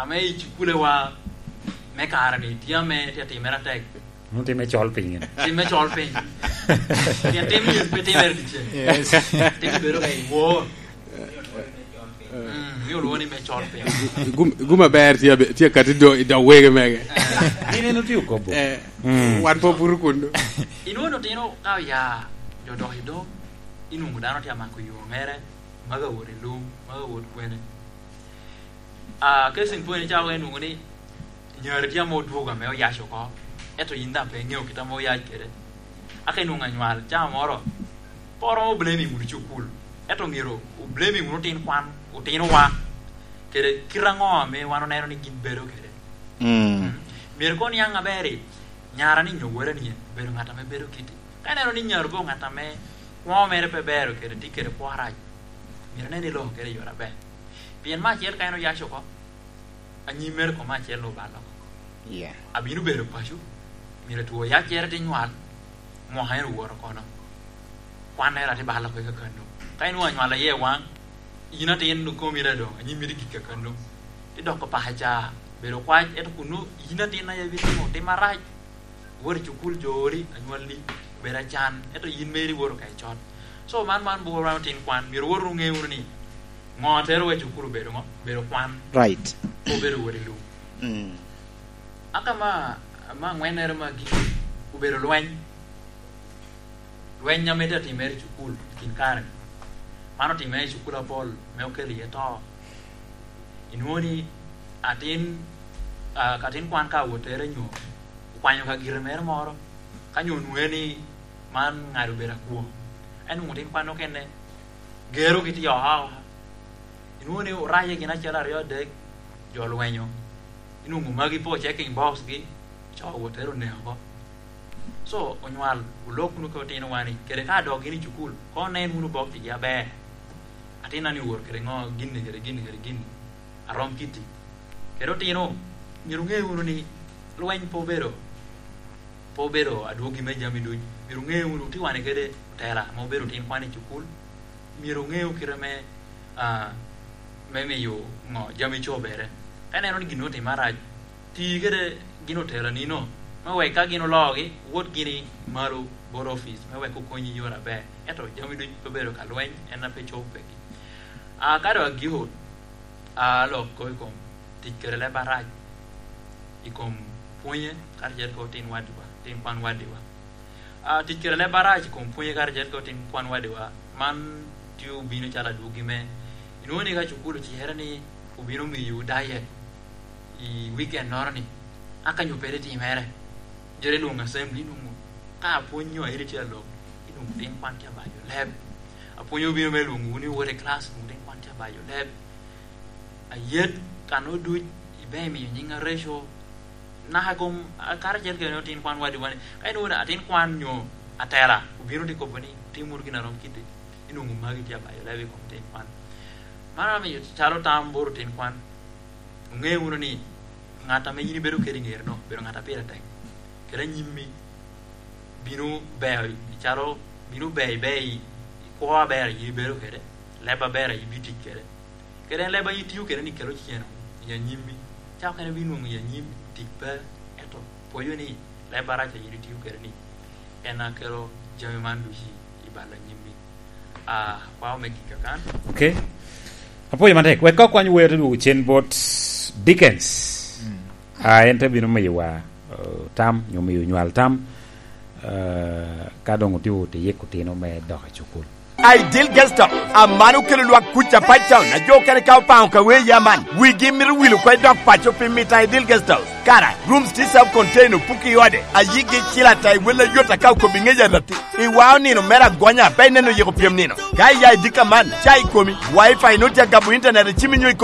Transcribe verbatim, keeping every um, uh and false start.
Ame i cukulewa me kare-ni, tye ame tye atimere atek. Mom timme col piny. Timme col piny. Pien tim ni pe timere dyeceng. Yes. Tim bedo ka i wor. Mm, ni olwoŋo ni me col piny. Gum-, gum aber tye abe-, tye kati do-, i dog wege mege. Eh. Gin en otye okobo. Eh, mm. Wan pe obuto kuno. Inwoŋo otino ka oya, jo dok i dog, inwoŋo dano tye amako yo mere, maga wot i lum, maga wot kwene. Ah, case in point, cawa inwoŋo ni nyari tye ame odwogo ame oyac oko, ento yin daŋ pe iŋeo kit ame oyac kede. Aka inwoŋo anywal, cawa moro, pe oromo blaming wunu cukul, ento myero oblaming wunu otin kwan, otinowa, kede kite aŋo ame wan oneno ni gin bedo kede. Mm. Mm. Myero koŋ niaŋ aber i nyara ni nyo wara ni en obedo ŋat ame bedo kiti. Ka ineno ni nyari obedo ŋat ame kwoŋo mere pe ber kede tye kede kwo arac, myero inen ni iloko kede i yore aber. Pien me acel ka en oyac oko, anyim mere koŋ me acel obalo oko. Yeah. Abino bedo paco, myero two oyaccere te nywal, mwaka en owoto kono. Kwannere ate balo oko i kakano. Ka inwoŋo anywal aye waŋ, yin atin komi doŋ, anyim mito gik kakano. Idoko paka ca, bedo kwac, ento kuno yin atin aye ibitimo tim arac. Wot i cukul, jo ori, anywalli, bedo acan, ento yin meri iwoto ka icot. So, man, man bworo wan otin kwan, myero wot wunu ŋe wunu ni, ŋo a tero wa i cukul obedo ŋo? Obedo kwan. Right. Obedo wot i lum. Mm. Aka ma, ma aŋwennere ma gik obedo lweny. Lweny ame tye atimere i cukul i kin kare-ni. Man otimere i cukul apol, me okelo iye to. Inwoŋo ni atin, ah, ka atin kwan ka owotere nyo okwanyo ka gire mere moro, ka nyo onwoŋe ni man ŋat obedo akwo. Ento onwoŋo tin kwan okene gero gitye oha oha. Inwoŋo ni oraje gin acel aryo adek, jo olwenyo. Inwoŋo magi po checking box gi, co owotere oneko oko. So, onywal, olok wunu ka otinowa ni, kede ka dok gin i cukul, koŋ onen wunu bok tigi aber. Atinna ni owot kede ŋo, ginni kede ginni kede ginni. Arom kitti. Kede otino, myero wuŋe wunu ni lweny pe obedo, pe obedo adwogi me jami duc. Myero wuŋe wunu, tye wane kede otela ame obedo tin kwan i cukul. Myero wuŋe kite me, ah, me miyo ŋo, jami cobere. Ka ineno ni gin otimme arac, ti kede gin otela nino, me wek ka gin oloogi, wot gini malo bot opic, me wek okonyi i yore aber. Ento jami duc pe obedo ka lweny, en a pe cobo peki. Ah, ka dok agiko, ah, alok kop i kom tic kede leb arac, i kom pwonye, karacel kede otin waddiwa, otin kwan waddiwa. Ah, tic kede leb arac i kom pwonye, karacel kede otin kwan waddiwa, man tye obino calo adwogi me, inwoŋo ni ka cukul ocikere ni obino miyo diet i weekend-noro ni, aka nyo pe ri timere, jere lwoŋo assembly, inwoŋo ka apwony nyo airi tye alok, inwoŋo otin kwan tye abayo leb. Apwony obino me lwoŋo wun iwot i class, inwoŋo otin kwan tye abayo leb. Ayet, kan oduc, ibe imiyo nyiŋ areco. Naka kom, a, karacel kede otin kwan waddi wan. Ka inwoŋo atin kwan nyo atela, obino tye kobo ni, "Tim wunu gin a rom kiti." Inwoŋo magi tye abayo leb i kom otin kwan. Man amiyo calo tam bot otin kwan. Wuŋe wunu ni, ŋat ame yin ibedo kede i ŋeri-no, obedo ŋat a pire tek. Kede anyimmi, bino ber, calo, bino ber, iber i, i kwo aber a yin ibedo kede, leb aber a yin ibitic kede. Kede en leb a yin itio kede ni kelo cen i anyimmi. Ca okene ibino nwoŋo i anyim tic pe, ento pwoyo ni leb arac a yin itio kede ni en a kelo jami man ducu i, i bal anyimmi. Ah, kwao me gika kan. Okay. Apwoyo matek. Wek ka okwany wer te dwogo cen bot Dickens. Mm. Ah, en te bino miyowa, eh, tam, nyo miyo nywal tam, eh, ka doŋ otye wot i yiko otino me dok i cukul. Ideal Guest House, aman okelo lwak kuc Apac Town, a jo okene ka opaŋo ka wer ya man, wigi mito wil oko i dok paco pi mito Ideal Guest House. Kara, rooms tye self contained, opuki i ode, a yigi cilo ata i wel ayot aka okobo i ŋec arati. Iwao nino mere agonya, pe ineno yiko pyem nino. Ka iya i dika man, ca i komi, Wi-Fi nwoŋo tye agamo internet i cimi nyo i kom